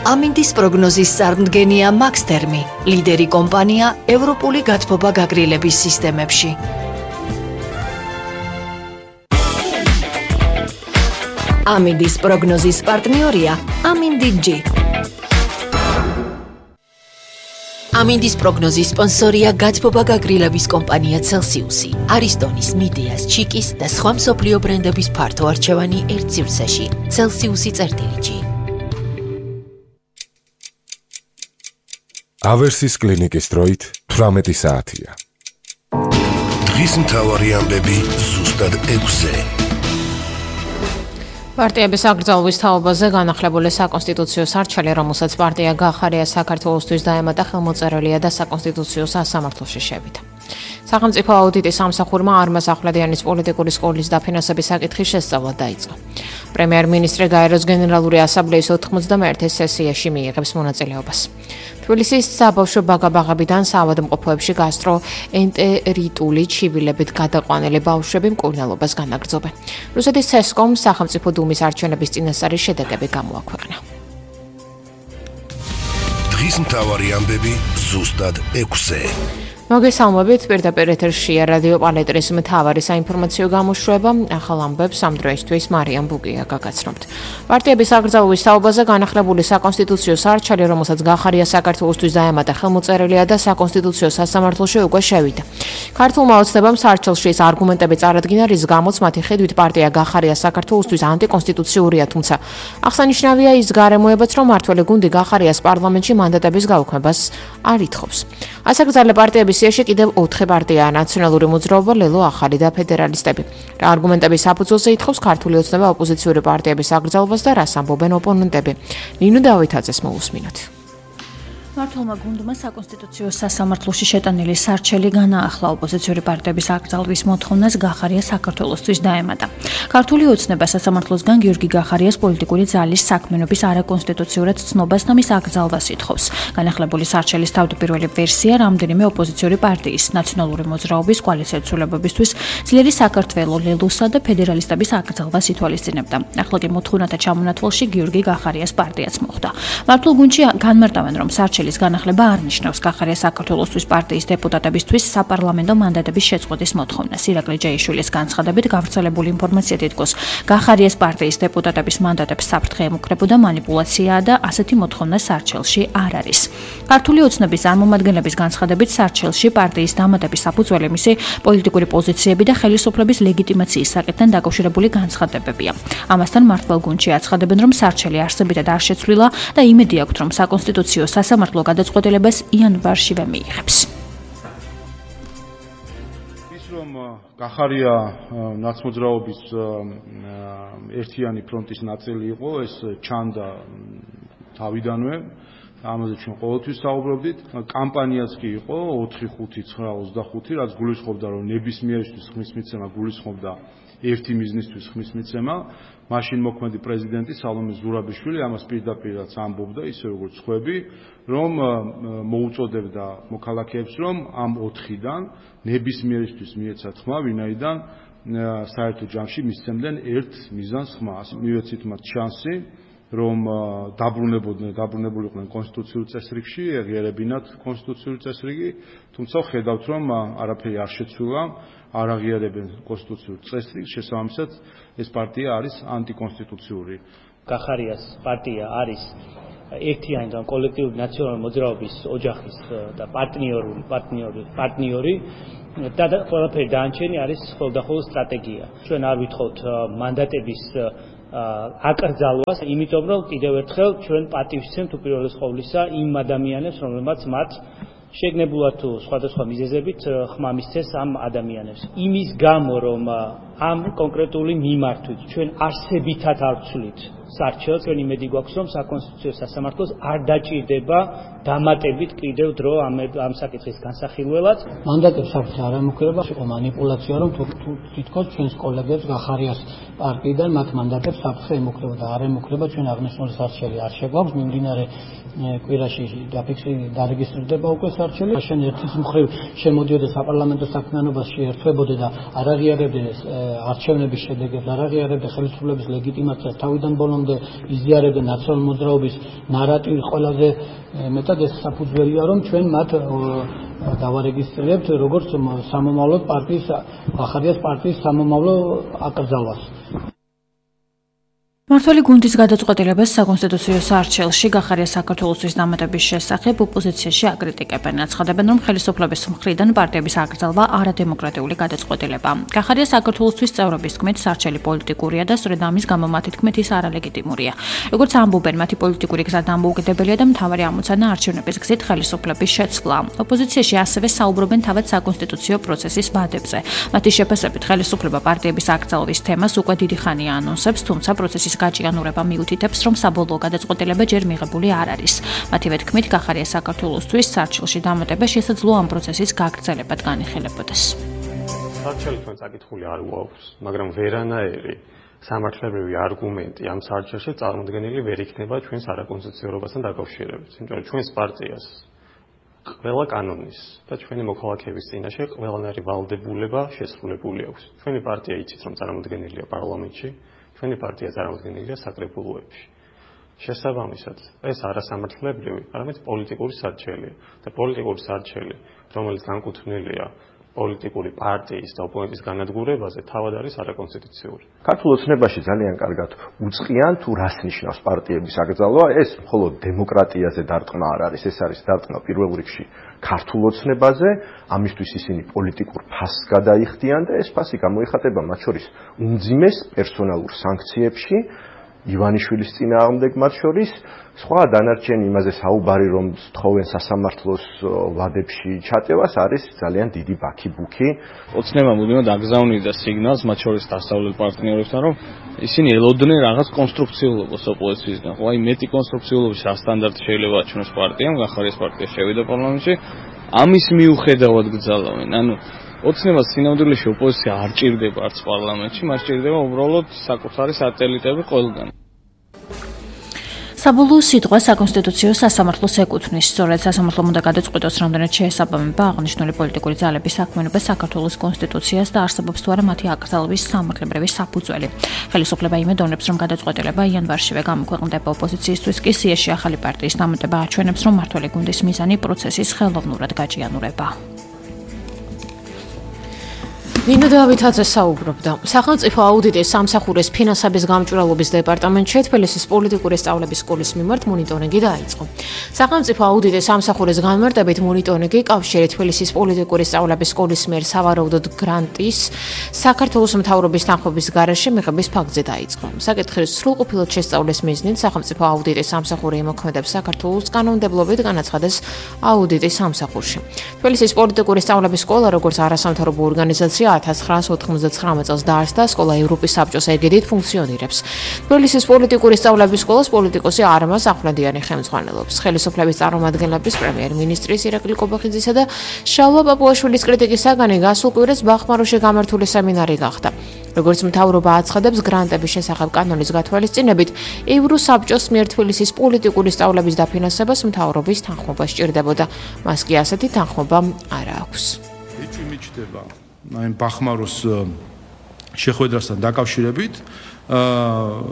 ამინდის პროგნოზის წარმდგენია მაქსთერმი, ლიდერი კომპანია ევროპული გათბობა გაგრილების სისტემებში. ამინდის პროგნოზის პარტნიორია ამინდი-G. ამინდის პროგნოზის სპონსორია გათბობა გაგრილების კომპანია Celsius-ი, არისტონის, მიდეას, ჩიკის და სხვა მსოფლიო ბრენდების ფართო არჩევანი ერთ სივრცეში. Celsius-G. ავერსის კლინიკის დროით 18 საათია. დღის მთავარი ამბები ზუსტად 6-ზე. პარტიების აკრძალვის თაობაზე განახლებული საკონსტიტუციო სარჩელი, რომელსაც პარტია გახარია საქართველოსთვის დაემატა, ხელმოწერილია და საკონსტიტუციო სასამართლოში შევიდა. სახელმწიფო აუდიტის სამსახურმა არმაზ ახვლედიანის პოლიტიკური სკოლის დაფინანსების საკითხის შესწავლა დაიწყო. პრემიერ-მინისტრი გაეროს გენერალური ასამბლეის 91 სესიაში მიიღებს მონაწილეობას. თბილისის საბავშვო ბაღაბაღებიდან საავადმყოფოებში გასტროენტერიტული ჩივილებით გადაყვანილი ბავშვები მკურნალობას განაგრძობენ. რუსეთის ცესკომ სახელმწიფო დუმის არჩევნების წინასწარი შედეგები გამოაქვეყნა. დღის მთავარი ამბები ზუსტად 6-ზე. მოგესალმებით, პირდაპირ ეთერშია რადიო პალეტრის მთავარი საინფორმაციო გამოშვება. ახალ ამბებს ამ დროისთვის მარიამ ბუგია გაგაცნობთ. პარტიების აკრძალვის თაობაზე განახლებული საკონსტიტუციო სარჩელი, რომელსაც გახარია საქართველოსთვის დაემატა, ხელმოწერილია და საკონსტიტუციო სასამართლოში უკვე შევიდა. ქართულმა ოცნებამ სარჩელში ეს არგუმენტები წარადგინა, რის გამოც მათი ხედვით პარტია გახარია საქართველოსთვის ანტიკონსტიტუციურია, თუმცა აღსანიშნავია ის გარემოებაც, რომ მართველი გუნდი გახარიას პარლამენტში მანდატების გაუქმებას არ ითხოვს. ასაკრძალე პარტიების სიაში კიდევ 4 პარტიაა: ნაციონალური მოძრაობა, ლელო, ახალი და ფედერალისტები. რა არგუმენტების საფუძველზე ითხოვს ქართული ოცნება ოპოზიციური პარტიების აკრძალვას და რას ამბობენ ოპონენტები? ნინო დავითაძეს მოусმინოთ. მართლმა გუნდმა საკონსტიტუციო სასამართლოში შეტანილი სარჩელი განაახლა ოპოზიციური პარტიების აკრძალვის მოთხოვნას გახარია საქართველოსთვის დაემატა. ქართული ოცნება სასამართლოსგან გიორგი გახარიას პოლიტიკური ძალის საქმიანობის არაკონსტიტუციურად ცნობას და მის აკრძალვას ითხოვს. განახლებული სარჩელის თავდაპირველი ვერსია რამდენიმე ოპოზიციური პარტიის, ნაციონალური მოძრაობის, კოალიციური ცვლილებებისთვის, ძლიერი საქართველო, ლელოსა და ფედერალისტების აკრძალვას ითვალისწინებდა. ახლა კი მოთხოვნათა ჩამონათვალში გიორგი გახარიას პარტიაც მოხვდა. მართლ გუნდში განმარტავენ, რომ სარჩელის განახლება არ ნიშნავს გახარია საქართველოსთვის პარტიის დეპუტატებისთვის საპარლამენტო მანდატების შეწყვეტის მოთხოვნას. ირაკლი ჯეიშვილის განცხადებით, გავრცელებული ინფორმაცია თითქოს გახარიას პარტიის დეპუტატების მანდატებს საფრთხე ემუქრებოდა манипуляციაა და ასეთი მოთხოვნა სარჩელში არ არის. ქართული ოცნების წარმომადგენლების განცხადებით, სარჩელში პარტიის დამატების საფუძველი მისი პოლიტიკური პოზიციები და ხელისუფლების ლეგიტიმაციის საკითხთან დაკავშირებული განცხადებებია. ამასთან მართლ გუნდში აცხადებენ, რომ სარჩელი არსებითად არ შეცვლილა და იმედი აქვთ, რომ საკონსტიტუციო სასამართლო გადაწყვეტილებას იანვარშივე მიიღებს. ის რომ გახარია ნაცმოძრაობის ერთიანი ფრონტის ნაწილი იყო, ეს ჩანდა თავიდანვე. ამაზე ჩვენ ყოველთვის საუბრობდით. კამპანიაც კი იყო 4-5-9-25, რაც გულისხმობდა, რომ ნებისმიერისთვის ხმის მიცემა გულისხმობდა ერთი მიზნისთვის ხმის მიცემა. მაშინ მოქმედი პრეზიდენტი სალომე ზურაბიშვილი ამას პირდაპირაც ამბობდა, ისე როგორც ხვები, რომ მოუწოდებდა მოქალაქეებს, რომ ამ 4-დან ნებისმიერისთვის მიეცათ ხმა, ვინაიდან საერთო ჯამში მისცემდნენ ერთ მიზანს ხმას. მივეცით მათ შანსი, რომ დაბრუნებულიყვნენ კონსტიტუციურ წესრიგში, ეღიარებინათ კონსტიტუციური წესრიგი, თუმცა ხედავთ, რომ არაფერი არ შეცვლილა, არ აღიარებენ კონსტიტუციურ წესრიგს, შესაბამისად ეს პარტია არის ანტიკონსტიტუციური. გახარიას პარტია არის ერთიანი და კოლექტიური ნაციონალური მოძრაობის ოჯახის და პარტნიორი და ყველაფერი დანარჩენი არის ხოლმე სტრატეგია. ჩვენ არ ვითხოვთ მანდატების აკრძალვას, იმიტომ რომ კიდევ ერთხელ ჩვენ პატივს ვცემთ უპირველეს ყოვლისა იმ ადამიანებს, რომლებმაც მათ შეგნებულად თუ სხვადასხვა მიზეზებით ხმა მისცეს ამ ადამიანებს. იმის გამო, რომ ამ კონკრეტული მიმართვით ჩვენ არსებითად არ ვცვლით სარჩელს, ჩვენ იმედი გვაქვს, რომ საკონსტიტუციო სასამართლოს არ დაჭირდება დამატებით კიდევ დრო ამ საკითხის განსახილველად. მანდატებს საფრთხე არ ემუქრება, იყო манипуляცია, რომ თითქოს ჩვენს კოლეგებს გახარიას პარტიიდან მათ მანდატებს საფრთხე ემუქრება და არ ემუქრება, ჩვენ აღნიშნული სარჩელი არ შეგვაქვს, მიმდინარე კვირაში დარეგისტრირდება უკვე სარჩელი. შენ ერთის მხრივ შემოდიოდა საპარლამენტო საქმიანობაში, ერთვებოდა და არ აღიარებდნენ არჩევნების შედეგებს არ აღიარებდა ხელისუფლების ლეგიტიმაციას თავიდან ბოლომდე იზიარებდა ნაციონალ მოძრაობის ნარატივი ყველაზე მეტად ეს საფუძველია რომ ჩვენ მათ დავარეგისტრირებთ როგორც სამომავლო პარტიის ახალგაზრდა პარტიის სამომავლო აკრძალვას. მართველი გუნდის გადაწყვეტილებას საკონსტიტუციო სარჩელში გახარია საქართველოსთვის დამატების შესახებ ოპოზიციაში აკრიტიკებენ. აცხადებენ, რომ ხელისუფლების მხრიდან პარტიების აკრძალვა არადემოკრატიული გადაწყვეტილებაა. გახარია საქართველოსთვის წევრობის თქმით სარჩელი პოლიტიკურია და სწორედ ამის გამო მათი თქმით ის არალეგიტიმურია. როგორც ამბობენ, მათი პოლიტიკური გზა დამოუკიდებელია და მთავარი ამოცანა არჩევნების გზით ხელისუფლების შეცვლა. ოპოზიციაში ასევე საუბრობენ თავად საკონსტიტუციო პროცესის ვადებზე. მათი შეფასებით ხელისუფლება პარტიების აკრძალვის თემას უკვე დიდი ხანია ანონსებს, თუმცა პროცესის გაჭიანურება მიუთითებს, რომ საბოლოო გადაწყვეტილება ჯერ მიღებული არ არის. მათივე თქმით, გახარია საქართველოსთვის სარჩელში დამატება შესაძლოა ამ პროცესის გაგრძელებად განიხილებოდეს. სარჩელი თქვენ წაკითხული არ გვაქვს, მაგრამ ვერანაირი სამართლებრივი არგუმენტი ამ სარჩელში წარმოდგენილი ვერ იქნება ჩვენს არაკონსტიტუციურობასთან დაკავშირებით. იმიტომ რომ ჩვენს პარტიას ყველა კანონის და ჩვენი მოქალაქეების წინაშე ყველანაირი ვალდებულება შესრულებული აქვს. ჩვენი პარტია იცით, რომ წარმოდგენილია პარლამენტში. ჩვენი პარტია წარმოდგენილია საკრებულოებში. შესაბამისად, ეს არასამართლებრივი, არამედ პოლიტიკური სარჩელია და პოლიტიკური სარჩელი, რომელიც განკუთვნილია პოლიტიკური პარტიის და ოპონენტის განადგურებაზე, თავად არის არაკონსტიტუციური. ქართულ ოცნებაში ძალიან კარგად უწყიან თუ რას ნიშნავს პარტიების აკრძალვა, ეს მხოლოდ დემოკრატიაზე დარტყმა არ არის, ეს არის დარტყმა პირველ რიგში ქართულ ოცნებაზე, ამისთვის ისინი პოლიტიკურ ფასს გადაიხდიან და ეს ფასი გამოიხატება მათ შორის უმძიმეს პერსონალურ სანქციებში, ივანიშვილის წინააღმდეგ მათ შორის, სხვა დანარჩენი იმაზე საუბარი რომ თხოვენ სასამართლოს ვადებში ჩაწევას არის ძალიან დიდი ბაქი-ბუქი. ოცნება მუდმივად აგზავნიდა სიგნალს მათ შორის დასავლელ პარტნიორებთან, რომ ისინი ელოდნენ რაღაც კონსტრუქციულობას ოპოზიციისგან. ხო, აი მეტი კონსტრუქციულობის რა სტანდარტი შეიძლება აჩვენოს პარტიამ, გახარიას პარტია შევიდა პარლამენტში, ამის მიუხედავად გძალავენ. ანუ ოცნებას სინამდვილეში ოპოზიცია არ ჭირდება არც პარლამენტში, მას ჭირდება უბრალოდ საკუთარი სატელიტები ყველგან. საბოლოო სიტყვა საკონსტიტუციო სასამართლოს ეკუთვნის. სწორედ სასამართლომ უნდა გადაწყვიტოს, რამდენად შეესაბამება აღნიშნული პოლიტიკური ძალების საქმიანობა საქართველოს კონსტიტუციას და არსებობს თუ არა მათი აკრძალვის სამართლებრივი საფუძველი. ხელისუფლება იმედოვნებს, რომ გადაწყვეტილება იანვარშივე გამოქვეყნდება. ოპოზიციისთვის კი სიაში ახალი პარტიის დამატება აჩვენებს, რომ მართველი გუნდის მიზანი პროცესის ხელოვნურად გაჭიანურება. ნინო დავითაძე საუბრობდა. სახელმწიფო აუდიტის სამსახურის ფინანსების გამჭვირვალობის დეპარტამენტში თბილისის პოლიტიკური სწავლების სკოლის მიმართ მონიტორინგი დაიწყო. სახელმწიფო აუდიტის სამსახურის განმარტებით მონიტორინგი კავშირი თბილისის პოლიტიკური სწავლების სკოლის მიერ სავარაუდოდ გრანტის საქართველოს მთავრობის თანხმობის გარეშე მიღების ფაქტზე დაიწყო. საკითხის სრულყოფილად შესწავლის მიზნით სახელმწიფო აუდიტის სამსახური იმოქმედებს საქართველოს კანონმდებლობით განაცხადეს აუდიტის სამსახურში. თბილისის პოლიტიკური სწავლების სკოლა როგორც არასამთავრობო ორგანიზაცია 1999 წელს დაარსდა, სკოლა ევროპის საბჭოს ეგიდით ფუნქციონირებს. თბილისის პოლიტიკური სწავლების სკოლას პოლიტიკოსი არმაზ ახვლედიანი ხელმძღვანელობს. ხელისუფლების წარმომადგენლების პრემიერ-მინისტრის ირაკლი კობახიძისა და შალვა პაპუაშვილის კრიტიკის საგანი გასულ კვირას ბახმაროში გამართული სემინარი გახდა. როგორც მთავრობა აცხადებს, გრანტების შესახებ კანონის გათვალისწინებით, ევროსაბჭოს მიერ თბილისის პოლიტიკური სწავლების დაფინანსებას მთავრობის თანხმობა სჭირდებოდა. მას კი ასეთი თანხმობა არ აქვს. ეჭვი მიჩნდება აი ბახმაროს შეხვედრასთან დაკავშირებით,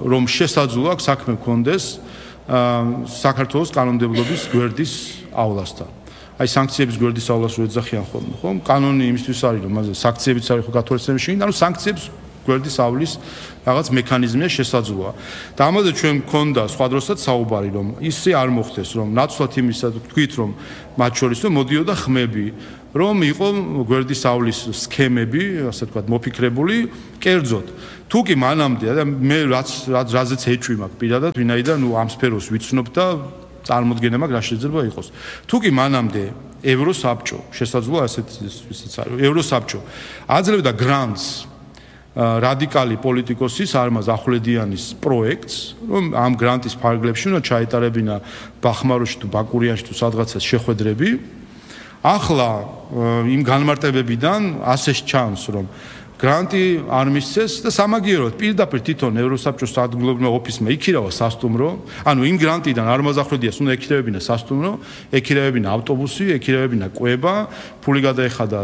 რომ შესაძლოა საქმე მქონდეს საქართველოს კანონმდებლობის გვერდისავლასთან. აი სანქციების გვერდისავლას რო ეძახიან ხოლმე, ხო? კანონი იმისთვის არის, რომ მასზე სანქციებიც არის ხო გათვალისწინების შეგინდა, ანუ სანქციებს გვერდის ავლის რაღაც მექანიზმია შესაძლოა. და ამაზე ჩვენ მქონდა სხვა დროსაც საუბარი, რომ ისე არ მოხდეს, რომ ნაცვლად იმისა თქვით, რომ მათ შორის რომ მოდიოდა ხმები, რომ იყო გვერდის ავლის სქემები, ასე ვთქვათ, მოფიქრებული კერძოდ. თუ კი მანამდე და მე რაზეც ეჭვი მაქვს პირადად, ვინაიდან ნუ ამ სფეროს ვიცნობ და წარმოდგენა მაქვს რა შეიძლება იყოს. თუ კი მანამდე ევროსაბჭო შესაძლოა ესეც არის. ევროსაბჭო აძლევდა გრანტს რადიკალი პოლიტიკოსის არმაზ ახვლედიანის პროექტს, რომ ამ გრანტის ფარგლებში უნდა ჩაეტარებინა ბახმაროში თუ ბაკურიანში თუ სადღაცას შეხვედრები. ახლა იმ განმარტებებიდან ასე ჩანს, რომ გრანტი არ მისცეს და სამაგიეროდ პირდაპირ თვითონ ევროსაბჭოს ადგილობრივ ოფისმა იქირავა სასტუმრო, ანუ იმ გრანტიდან არ მოზახრედიას უნდა ეკირევებინა სასტუმრო, ეკირევებინა ავტობუსი, ეკირევებინა კვება, ფული გადაეხადა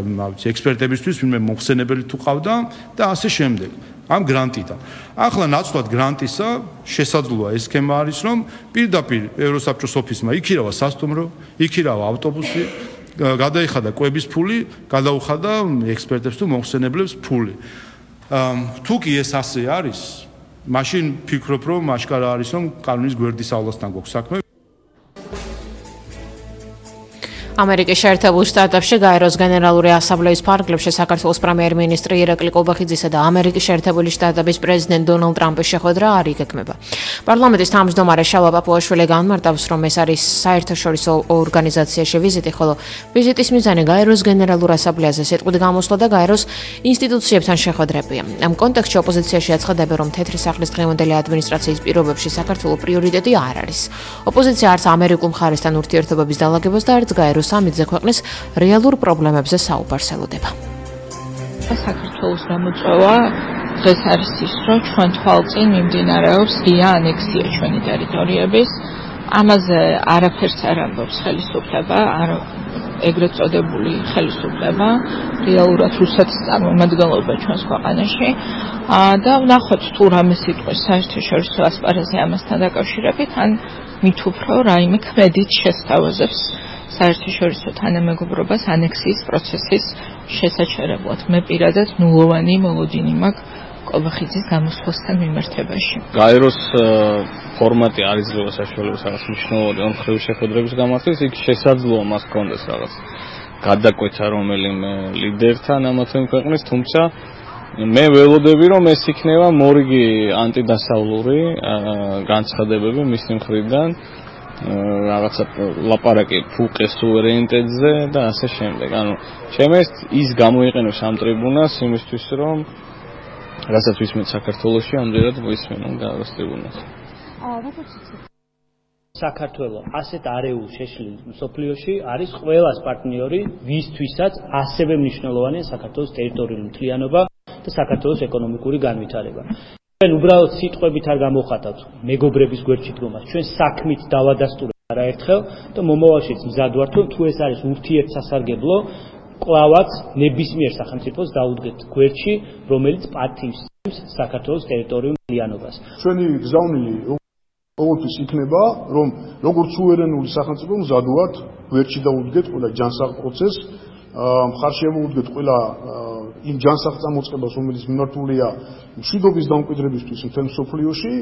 ექსპერტებისთვის, ვინმე მოხსენებელი თუ ყავდა და ასე შემდეგ. ამ გრანტიდან. ახლა ნაცვლად გრანტისა შესაძლოა ეს სქემა არის, რომ პირდაპირ ევროსაბჭოს ოფისმა იქირავა სასტუმრო, იქირავა ავტობუსი, გადაიხადა კვების ფული, გადაუხადა ექსპერტებს თუ მოხსენებლებს ფული. თუ კი ეს ასე არის, მაშინ ფიქრობ, რომ აშკარა არის, რომ კანონის გვერდისავლასთან გვაქვს საქმე. ამერიკის შეერთებულ შტატებში გაეროს გენერალური ასამბლეის ფარგლებში საქართველოს პრემიერ-მინისტრი ირაკლი კობახიძისა და ამერიკის შეერთებული შტატების პრეზიდენტ დონალდ ტრამპის შეხვედრა არ იგეგმება. პარლამენტის თავმჯდომარე შალვა პაპუაშვილი განმარტავს, რომ ეს არის საერთაშორისო ორგანიზაციაში ვიზიტი, ხოლო ვიზიტის მიზანი გაეროს გენერალურ ასამბლეაზე სიტყვით გამოსვლა და გაეროს ინსტიტუციებთან შეხვედრებია. ამ კონტექსტში ოპოზიციაში აცხადებენ, რომ თეთრი სახლის დღევანდელი ადმინისტრაციის პირობებში საქართველოს პრიორიტეტი არ არის. ოპოზიცია არც ამერიკულ მხარესთან ურთიერთობების დალაგებას და არც გაეროს სამიტზე ქვეყნის რეალურ პრობლემებზე საუბარს ელოდება. საქართველოს გამოწვევა დღეს არის ის, რომ ჩვენ თვალწინ მიმდინარეობს ღია ანექსია ჩვენი ტერიტორიების. ამაზე არაფერს არ ამბობს ხელისუფლება, ეგრეთ წოდებული ხელისუფლება, რეალურად რუსეთის წარმომადგენლობა ჩვენს ქვეყანაში. და ვნახოთ თუ რამე სიტყვის საერთაშორისო ასპარეზზე ამასთან დაკავშირებით, ან მით უფრო რაიმე ქმედით შესთავაზებს საერთაშორისო თანამეგობრობას ანექსიის პროცესის შესაჩერებლად. მე პირადად ნულოვანი მოლოდინი მაქვს კობახიძის გამოსვლასთან მიმართებაში. გაეროს ფორმატი არ იძლევა საშუალებას რაღაც მნიშვნელოვანი ორმხრივი შეხვედრების გამართვას, იქ შესაძლოა მას ჰქონდეს რაღაც გადაკვეთა რომელიმე ლიდერთან ამა თუ იმ ქვეყნის, თუმცა მე ველოდები, რომ ეს იქნება მორიგი ანტიდასავლური განცხადებები მისი მხრიდან. რაღაცა ლაპარაკი ფუყეს სუვერენიტეტზე და ასე შემდეგ. ანუ შემეს ის გამოიყენებს ამ ტრიბუნას იმისთვის, რომ რასაც ვისმენთ საქართველოში, ამდენად ვისმენთ გაეროს ტრიბუნას. საქართველო ასეთ არეულ შეშლილ მსოფლიოში არის ყველას პარტნიორი, ვისთვისაც ასევე მნიშვნელოვანია საქართველოს ტერიტორიული მთლიანობა და საქართველოს ეკონომიკური განვითარება. ჩვენ უბრალოდ სიტყვებით არ გამოხატავთ მეგობრების გვერდში დგომას. ჩვენ საქმით დავადასტურებთ არაერთხელ და მომავალშიც მზად ვართ, რომ თუ ეს არის ურთიერთსასარგებლო, კლავაც ნებისმიერ სახელმწიფოს დაუდგეთ გვერდში, რომელიც პატივს საქართველოს ტერიტორიულ მთლიანობას. ჩვენი გზავნილი ყოველთვის იქნება, რომ როგორც სუვერენული სახელმწიფო მზად ვართ გვერდში დაუდგეთ ყველა ჯანსაღ პროცესს, მხარს შევუდგეთ ყველა იმ ჯანსაღ წამოწყებას, რომელიც მიმართულია მშვიდობის დამკვიდრებისთვის მთელ მსოფლიოში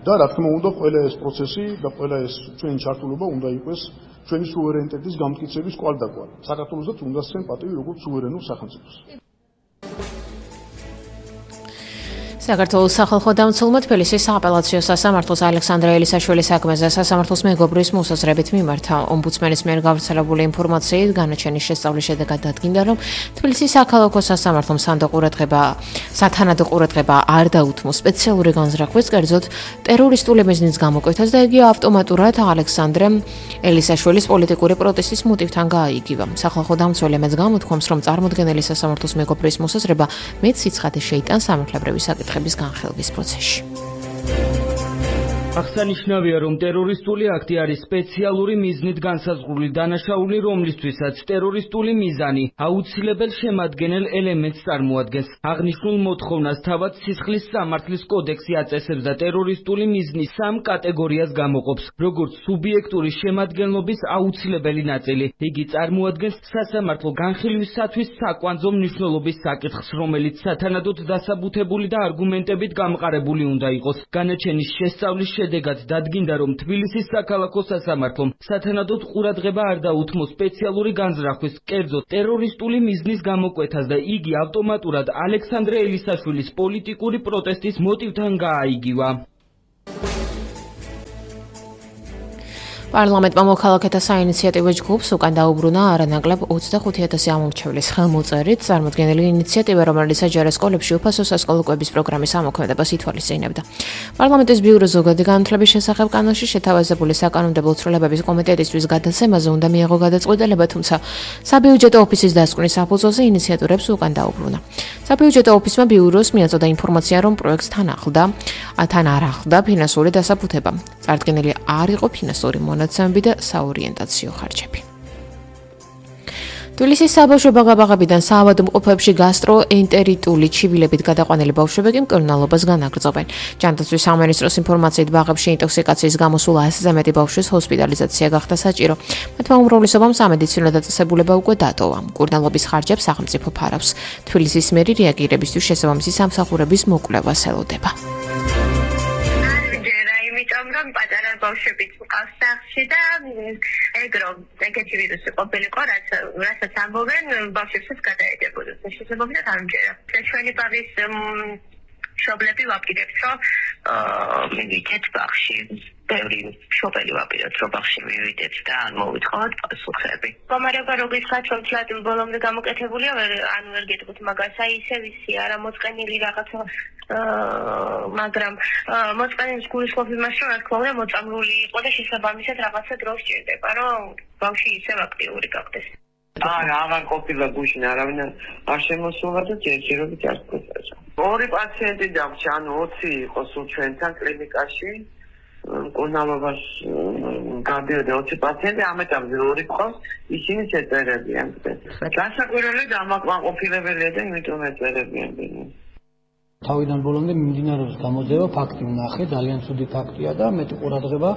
და რა თქმა უნდა ყველა ეს პროცესი და ყველა ეს ჩვენი ჩართულობა უნდა იყოს ჩვენი სუვერენიტეტის გამტკიცების კვალდაკვალ. საქართველოსაც უნდა სცენ პატივი როგორც სუვერენულ სახელმწიფოს. საქართველოს სახალხო დამცველმა თბილისის სააპელაციო სასამართლოს ალექსანდრე ელისაშვილის საქმეზე სასამართლოს მეგობრის მოსაზრებით მიმართა. ომბუდსმენის მიერ გავრცელებული ინფორმაციით განაჩენის შესწავლის შედეგად დადგინდა, რომ თბილისის საქალაქო სასამართლომ სათანადო ყურადღება არ დაუთმო სპეციალური განზრახვის, კერძოდ ტერორისტული მიზნის გამოკვეთას და იგი ავტომატურად ალექსანდრე ელისაშვილის პოლიტიკური პროტესტის მოტივთან გააიგივა. სახალხო დამცველი მეც გამოთქვამს, რომ წარმოდგენელი სასამართლოს მეგობრის მოსაზრება მეც სიცხადე შეიტანს სამართლებრივი საკითხების განხილვის პროცესში. აღსანიშნავია, რომ ტერორისტული აქტი არის სპეციალური მიზნით განსაზღვრული დანაშაული, რომლისთვისაც ტერორისტული მიზანი აუცილებელ შემადგენელ ელემენტს წარმოადგენს. აღნიშნულ მოთხოვნას თავად სისხლის სამართლის კოდექსი აწესებს და ტერორისტული მიზნის სამ კატეგორიას გამოყოფს, როგორც სუბიექტური შემადგენლობის აუცილებელი ნაწილი. იგი წარმოადგენს სასამართლო განხილვისათვის საკვანძო მნიშვნელობის საკითხს, რომელიც სათანადოდ დასაბუთებული და არგუმენტებით გამყარებული უნდა იყოს. განაჩენის შესწავლის შედეგად დადგინდა, რომ თბილისის საქალაქო სასამართლომ სათანადოდ ყურადღება არ დაუთმო სპეციალური განზრახვის, კერძოდ ტერორისტული მიზნის გამოკვეთას და იგი ავტომატურად ალექსანდრე ელისაშვილის პოლიტიკური პროტესტის მოტივთან გააიგივა. პარლამენტმა მოქალაქეთა საინიციატივო ჯგუფს უკან დაუბრუნა არანაკლებ 25,000 ამომრჩევლის ხელმოწერით წარმოდგენილი ინიციატივა, რომელიც აჯარა სკოლებში უფასო სასკოლო კვების პროგრამის ამოქმედებას ითვალისწინებდა. პარლამენტის ბიუროს ზოგადი განათლების შესახებ კანონში შეთავაზებული საკანონმდებლო ცვლილებების კომიტეტისთვის გადაცემაზე უნდა მიეღო გადაწყვეტილება, თუმცა საბიუჯეტო ოფისის დასკვნის საფუძველზე ინიციატორებს უკან დაუბრუნა. საბიუჯეტო ოფისმა ბიუროს მიაწოდა ინფორმაცია, რომ პროექტს თან არ ახლდა ფინანსური დასაბუთება. წარდგენილი არ იყო ფინანსური მონაცემები და საორიენტაციო ხარჯები. თბილისის საბავშვო ბაღ-ბაღებიდან საავადმყოფოებში გასტროენტერიტული ჩივილებით გადაყვანილი ბავშვები კი მკურნალობას განაგრძობენ. ჯანდაცვის სამინისტროს ინფორმაციით ბაღებში ინტოქსიკაციის გამო სულ 100-ზე მეტი ბავშვის ჰოსპიტალიზაცია გახდა საჭირო. მათმა უმრავლესობამ სამედიცინო დაწესებულება უკვე დატოვა. მკურნალობის ხარჯებს სახელმწიფო ფარავს. თბილისის მერი რეაგირებისთვის შესაბამისი სამსახურების მოკვლევას ელოდება. რომ პატარა ბავშვებიც მყავს სახლში და ეგ რომ ეგეთი ვირუსი ყოფილიყო, რასაც ამბობენ, ბავშვებსაც გადაედებოდეს. შესაბამისად არ მჯერა. ჩვენი ბაღის მშობლები ვაპირებთ, რომ მივიდეთ ბაღში. ბევრი მშობელი ვაპირებთ, რომ ბაღში მივიდეთ და ან მოვიტყავთ პასუხები. მდგომარეობა როგორიცაც რომ თლად ბოლომდე გამოკეთებულია, ანუ ვერ გეტყვით მაგას, აი ისე ვისი არა მოწყენილი რაღაცა მაგრამ მოწყენების გულისხმობ იმას, რომ რა თქმა უნდა მოწამლული იყო და შესაბამისად რაღაცა დრო სჭირდება, რომ ბავშვი ისევ აქტიური გახდეს. აღარ ყოფილა გუშინ არავინ არ შემოსულა და ჯერჯერობით არ გქონდა. ორი პაციენტი დავრჩა, ანუ 20 იყო სულ ჩვენთან კლინიკაში. მკურნალობას გადიოდა 20 პაციენტი, ამ ეტაპზე ორი ყავს, ისინი შეწერებიან. განსაკუთრებით დამაკმაყოფილებელია და იმიტომ ეწერებიან. თავიდან ბოლომდე მიმდინარეობს გამოძიება, ფაქტი ვნახე, ძალიან ცუდი ფაქტია და მეტი ყურადღება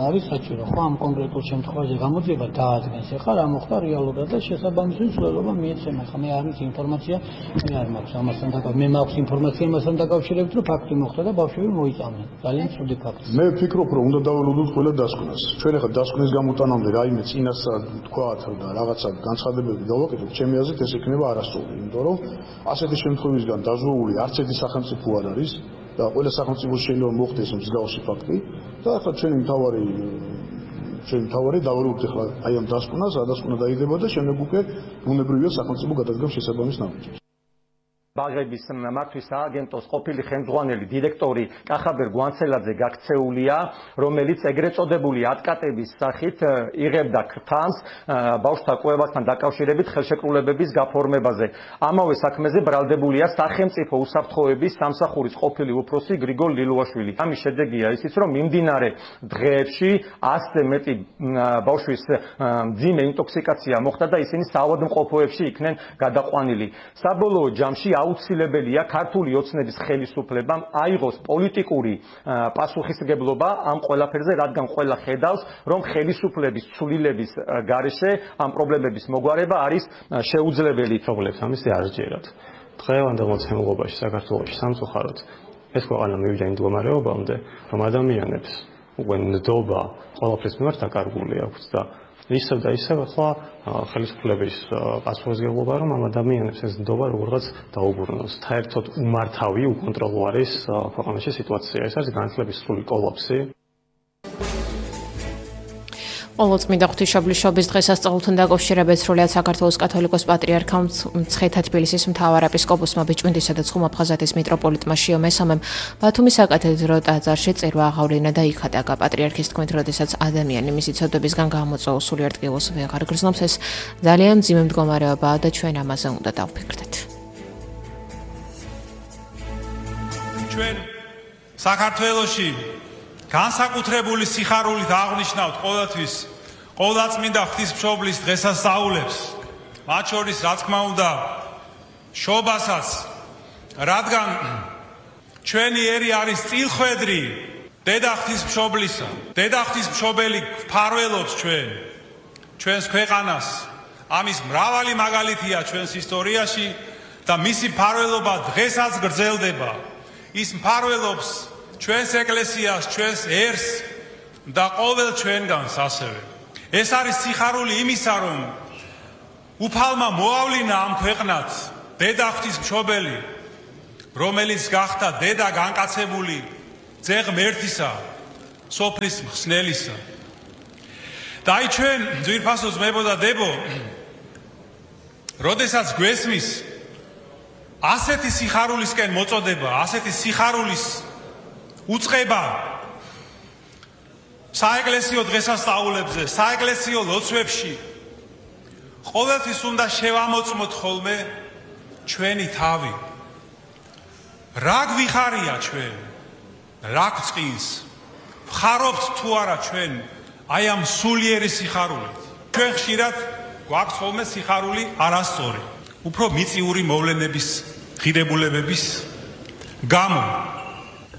არის საჭირო. ხო, ამ კონკრეტულ შემთხვევაში გამოძიება დაადგენს. ეხლა რა მოხდა რეალურად და შესაბამისი ცვლილება მიეცემა. ხა მე არ ვიცი ინფორმაცია, მე არ მაქვს ამასთან დაკავშირებით. მე მაქვს ინფორმაცია იმასთან დაკავშირებით, რომ ფაქტი მოხდა და ბავშვები მოიწამნენ. ძალიან ცუდი ფაქტია. მე ვფიქრობ, რომ უნდა დაველოდოთ ყველა დასკვნას. ჩვენ ახლა დასკვნის გამოტანამდე რაიმე წინასწარ თქვათ და რაღაცა განცხადებები დავაკეთოთ, ჩემი აზრით ეს იქნება არასწორი, იმიტომ რომ ასეთი შემთხვევისგან დაზვეული არც სახელმწიფო არ არის და ყველა სახელმწიფო შეიძლება მოხდეს მსგავსი ფაქტი და ახლა ჩვენი მთავარი დავალებთ ახლა აი ამ დასკვნას, ადასკვნა დაიდება და შემდეგ უკვე ბუნებრივია სახელმწიფო გადადგამს შესაბამის ნაბიჯებს. ბაღების მართვის სააგენტოს ყოფილი ხელმძღვანელი დირექტორი კახაბერ გვანცელაძე გაქცეულია, რომელიც ეგრეთ წოდებული ატკატების სახით იღებდა ქრთამს ბავშვთა კვებასთან დაკავშირებით ხელშეკრულებების გაფორმებაზე. ამავე საქმეზე ბრალდებულია სახელმწიფო უსაფრთხოების სამსახურის ყოფილი უფროსი გრიგოლ ლილუაშვილი. ამის შედეგია ისიც, რომ მიმდინარე დღეებში 100-ზე მეტი ბავშვის მძიმე ინტოქსიკაცია მოხდა და ისინი საავადმყოფოებში იქნენ გადაყვანილი. საბოლოო ჯამში აუცილებელია ქართული ოცნების ხელისუფლებამ აიღოს პოლიტიკური პასუხისმგებლობა ამ ყველაფერზე, რადგან ყველა ხედავს, რომ ხელისუფლების ცვლილების გარეშე ამ პრობლემების მოგვარება არის შეუძლებელი. პრობლემს ამის არ ჯერათ. დღევანდელ მოცემულობაში საქართველოში სამწუხაროდ ეს ქვეყანა მივიდა იმ მდგომარეობამდე, რომ ადამიანებს უკვე ნდობა ყველაფრის მიმართ დაკარგული აქვს და ისევ და ისევ ახლა ხელისუფლების პასუხისმგებლობა რომ ამ ადამიანებს ეს ნდობა როგორღაც დაუბრუნოს. საერთოდ უმართავი, უკონტროლო არის ქვეყანაში სიტუაცია. ეს არის განათლების სრული კოლაფსი. ყოველწმინდა ღვთისმშობლის დღესასწაულთან დაკავშირებით სრულიად საქართველოს კათოლიკოს პატრიარქამ მცხეთა თბილისის მთავარ ეპისკოპოსმა ბიჭვინთისა და ცხუმაფხაზეთის მიტროპოლიტმა შიო მესამემ ბათუმის საკათედრო ტაძარში წერვა აღავლინა და იქადაგა. პატრიარქის თქმით, როდესაც ადამიანი მისი ცოდვებისგან გამოწვეულ სულიერ ტკივილს ვეღარ გრძნობს, ეს ძალიან მძიმე მდგომარეობაა და ჩვენ ამაზე უნდა დავფიქრდეთ. ჩვენ საქართველოში განსაკუთრებული სიხარულით აღნიშნავთ ყოველთვის ყოვლადწმინდა ღვთისმშობლის დღესასწაულებს, მათ შორის რა თქმა უნდა შობასაც, რადგან ჩვენი ერი არის წილხვედრი დედა ღვთისმშობლისა. დედა ღვთისმშობელი გვფარველობს ჩვენს ქვეყანას. ამის მრავალი მაგალითია ჩვენს ისტორიაში და მისი მფარველობა დღესაც გრძელდება. ის მფარველობს ჩვენს ეკლესიას, ჩვენს ერს და ყოველ ჩვენგანს ასევე. ეს არის სიხარული იმისა, რომ უფალმა მოავლინა ამ ქვეყნად დედა ღვთისმშობელი, რომელიც გახდა დედა განკაცებული ძე ღმერთისა, სოფლის მხსნელისა. და აი ჩვენ ძვირფასო ძმებო და დებო, როდესაც გვესმის ასეთი სიხარულისკენ მოწოდება, ასეთი სიხარულის უწყება საეკლესიო დღესასწაულებზე, საეკლესიო ლოცვებში, ყოველთვის უნდა შევამოწმოთ ხოლმე ჩვენი თავი. რა გვიხარია ჩვენ? რა გვწყინს? ვხარობთ თუ არა ჩვენ აი ამ სულიერი სიხარულით? ჩვენ ხშირად გვაქვს ხოლმე სიხარული არასწორი, უფრო მიწიური მოვლენების, ღირებულებების გამო.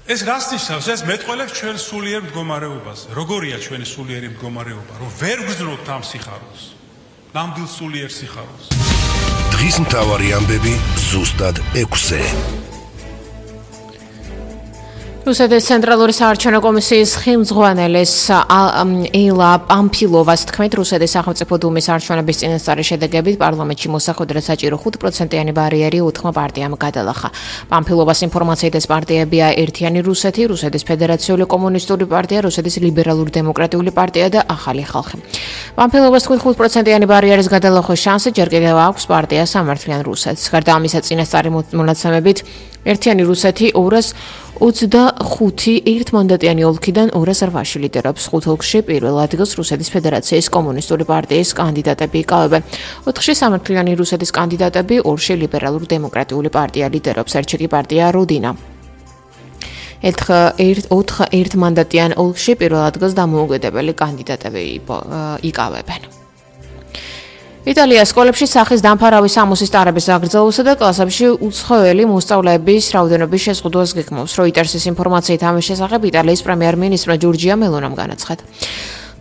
ეს რას ნიშნავს? ეს მეტყველებს ჩვენ სულიერ მდგომარეობას. როგორია ჩვენი სულიერი მდგომარეობა? რომ ვერ გვძნოთ ამ სიხარულს. ნამდვილ სულიერ სიხარულს. დღის მთავარი ამბები ზუსტად 6-ზე. რუსეთის ცენტრალური საარჩევნო კომისიის ხელმძღვანელის ელა პამფილოვას თქმით, რუსეთის სახელმწიფო დუმის არჩევნების წინასწარი შედეგებით პარლამენტში მოსახვედრად საჭირო 5%-იანი ბარიერი 4 პარტიამ გადალახა. პამფილოვას ინფორმაციით ეს პარტიებია ერთიანი რუსეთი, რუსეთის ფედერაციული კომუნისტური პარტია, რუსეთის ლიბერალური დემოკრატიული პარტია და ახალი ხალხი. პამფილოვას თქმით, 5%-იანი ბარიერის გადალახვის შანსი ჯერ კიდევ აქვს პარტია სამართლიან რუსეთს. გარდა ამისა, წინასწარი მონაცემებით ერთიანი რუსეთი 225 ერთმანდატიანი ოლქიდან 208 ლიდერობს. 5 ოლქში პირველ ადგილს რუსეთის ფედერაციის კომუნისტური პარტიის კანდიდატები იკავებენ. 4-ში სამართლიანი რუსეთის კანდიდატები, 2-ში ლიბერალური დემოკრატიული პარტია ლიდერობს, 1-ში კი პარტია როდინა. 4 ერთმანდატიან ოლქში პირველ ადგილს დამოუკიდებელი კანდიდატები იკავებენ. იტალიის სკოლებში სახის დამფარავი სამოსის ტარების გაგრძელებასა და კლასებში უცხოელი მოსწავლეების რაოდენობის შეზღუდვას გეგმავს. როიტერსის ინფორმაციით ამის შესახებ იტალიის პრემიერ-მინისტრმა ჯორჯია მელონამ განაცხადა.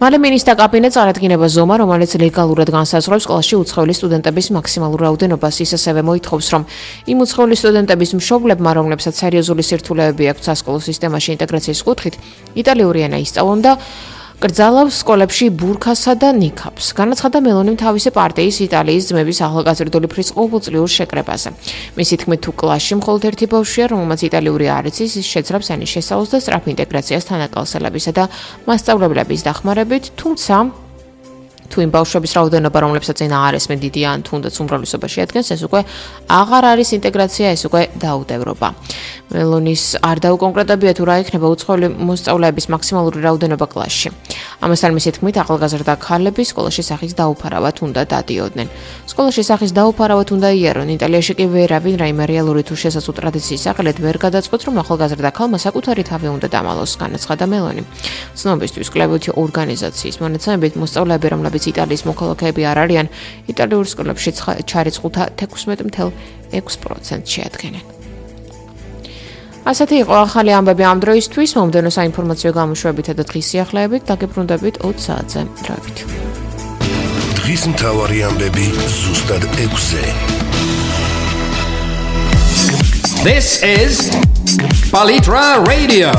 მალე მინისტრთა კაბინეტს წარადგინება ზომა, რომელიც ლეგალურად განსაზღვრებს კლასში უცხოელი სტუდენტების მაქსიმალურ რაოდენობას, ის ასევე მოითხოვს, რომ იმ უცხოელი სტუდენტების მშობლებმა, რომლებსაც სერიოზული სირთულეები აქვთ სასკოლო სისტემაში ინტეგრაციის კუთხით, იტალიური ენა ისწავლონ და კრძალავს სკოლებში ბურქასა და ნიქაბს. განაცხადა მელონიმ თავისი პარტიის იტალიის ძმების ახალგაზრდული ფრის ყოველწლიურ შეკრებაზე. მისი თქმით, თუ კლასში მხოლოდ ერთი ბავშვია, რომელმაც იტალიური არ იცის, ის შეძრავს ენის შესწავლას და სწრაფ ინტეგრაციას თანაკალსელებისა და მასწავლებლების დახმარებით, თუმცა თუ იმ ბავშვების რაოდენობა, რომლებსაც ენა არ ესმენ დიდია ან თუნდაც უმრავლესობაში ადგენს, ეს უკვე აღარ არის ინტეგრაცია, ეს უკვე დაუდევრობა. მელონის არ დაუკონკრეტებია თუ რა იქნება უცხოელი მოსწავლეების მაქსიმალური რაოდენობა კლასში. ამასთან მისი თქმით, ახალგაზრდა ქალები სკოლაში სახის დაუფარავად უნდა დადიოდნენ. სკოლაში სახის დაუფარავად უნდა იარონ. იტალიაში კი ვერავინ რაიმე რეალური თუ შესაძლო ტრადიციის სახელით ვერ გადაწყვეტს, რომ ახალგაზრდა ქალმა საკუთარი თავი უნდა დამალოს, განაცხადა მელონი. ცნობისთვის კვლევითი ორგანიზაციის მონაცემებით მოსწავლეები, რომლებიც იტალიის მოქალაქეები არ არიან, იტალიურ სკოლებში ჩარიცხულთა 16.6% შეადგენენ. ასეთი იყო ახალი ამბები ამ დროისთვის, მომდევნო საინფორმაციო გამოშვებითა და დღის სიახლეებით დაგებრუნდებით 20 საათზე. დროებით. დღის მთავარი ამბები ზუსტად 6-ზე. This is Palitra Radio.